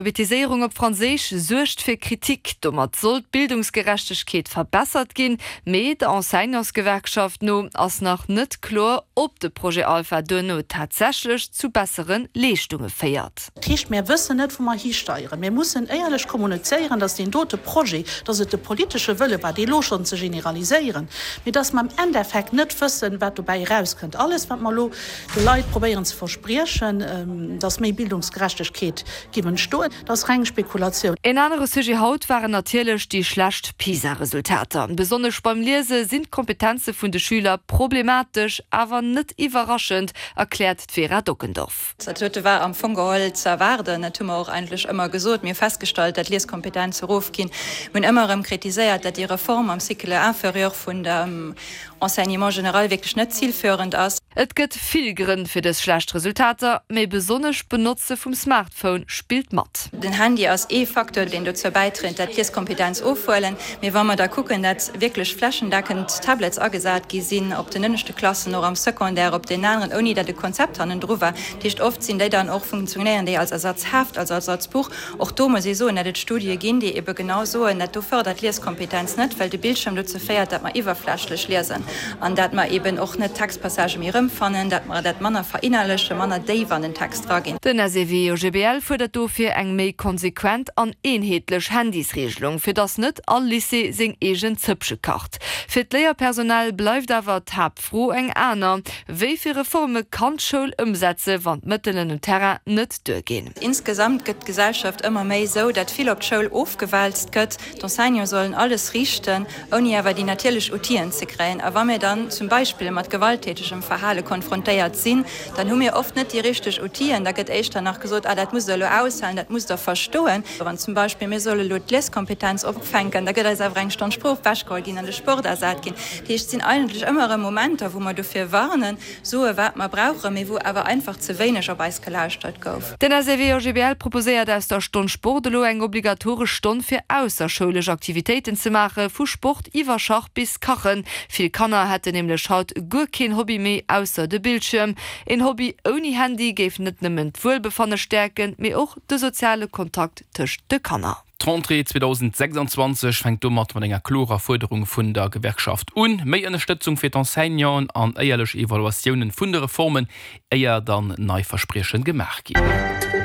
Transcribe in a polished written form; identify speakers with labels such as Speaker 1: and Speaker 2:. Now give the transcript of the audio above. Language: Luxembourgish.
Speaker 1: D'Alphabetiséierung op Franséisch suergt fir Kritik. Domat soll d'Bildungsgerechtegkeet verbessert ginn, mee der Enseignantsgewerkschaft no ass nach net kloer, ob de Projet Alpha duerno tatsächlech zu bessere Leeschtunge féiert.
Speaker 2: Dat heescht, mär wëssen net, wou mer histeieren. Mir mussen éierlech kommunizéieren, dass deen dote Projet, dass et de politesche Wëlle war, dee elo schonn ze generaliséieren, mee dass mer am Endeffekt net wëssen, wat dobäi erauskënnt. Alles, wat mer elo de Leit probéieren ze verspriechen, dass méi Bildungsgerechtegkeet giff entstoen, dat ass reng Spekulatioun.
Speaker 1: En anere Sujet haut waren natierlech déi schlecht PISA-Resultater. Besonnesch beim Liese sinn d'Kompetenze vun de Schüler problematesch, awer net iwwerraschend, erkläert d'Vera Dockendorf.
Speaker 3: Dat dote war am Fong geholl ze erwaarden. Dat hu mer och eigentlech ëmmer gesot. Mir hu festgestallt, dat d'Lieskompetenze erofginn. Mir hunn ëmmer erëm kritiséiert, dat déi Reform am Cycle inférieur vun dem Enseignement général wierklech net zilführend ass.
Speaker 1: Et gëtt vill Grënn fir dës schlecht Resultater, mee besonnesch d'Benotze vum Smartphone spillt mat.
Speaker 3: Den Handy ass ee Facteur, deen dozou bäidréit, dat d'Lieskompetenz ofhuelen. Mee wa mer da kucken, dat wierklech flächendeckend Tablets agesat gi sinn op den ënneschte Klassen, och am Secondaire, op deenen aneren, ouni dat e Konzept hannendru war, dat heescht oft sinn déi dann och, funktionéieren déi als Ersatzheft, als Ersatzbuch. Och do muss ee soen, dat et Studie ginn, déi ebe genau soen, dat do fërdert d'Lieskompetenz net, well de Bildschirm dozou féiert, dat mer iwwerflächlech liesen an dat mer eben och net Textpassagë méi erëmfannen, dat mer dat manner verinnerlechen, manner déif an den Text raginn.
Speaker 1: Den SEW-OGBL fuerdert dofir eng méi konsequent an eenheetlech Handysregelung, fir datt net all Lycée seng eegen Zëppche kacht. Fir d'Léierpersonal bleift awer d'Haaptfro, Fro eng aner, Wéi vill Reforme kann d'Schoul ëmsetze wann d'Mëttelen um Terrain net duerginn?
Speaker 3: Insgesamt gëtt d'Gesellschaft ëmmer méi esou, dat vill op d'Schoul ofgewälzt gëtt. D'Enseignante sollen alles riichten, ouni awer déi natierlech Outiller ze kréien. A wa mir dann zum Beispill mat gewalttätegem Verhale konfrontéiert sinn, dann hu mir oft net déi richteg Outill'en. Da gëtt éischter nach gesot, ah dat musst der elo aushalen, dat musst der verstoen. Wann zum Beispill mir solle elo d'Lieskompetenz opfänken, da gëtt eis awer eng Stonn Sprooch wechgeholl ginn an de Sport ersat ginn. Dat heescht, et sinn eigentlech ëmmer erëm Momenter, wou mer dofir warnen, soe wat mer brauchen, mee wou awer einfach ze wéineg op eis gelauschtert gouf.
Speaker 1: Den SEW-OGBL proposéiert aus der Stonn Sport elo eng obligatoresch Stonn fir ausserschoulesch Aktivitéiten ze maache, vu Sport iwwer Schach bis Kachen. Vill Kanner hätten nämlech haut guer keen Hobby méi ausser de Bildschierm. Een Hobby ouni Handy géif net nëmmen d'Wuelbefanne stäerken, mee och de soziale Kontakt tëscht de Kanner.
Speaker 4: D'Rentrée 2026 fänkt domat mat enger klorer Fuerderung vun der Gewerkschaft un, méi Ënnerstëtzung fir d'Enseignanten an éierlech Evaluatiounen vun de Reformen, éier dann nei Verspriechen gemaach ginn.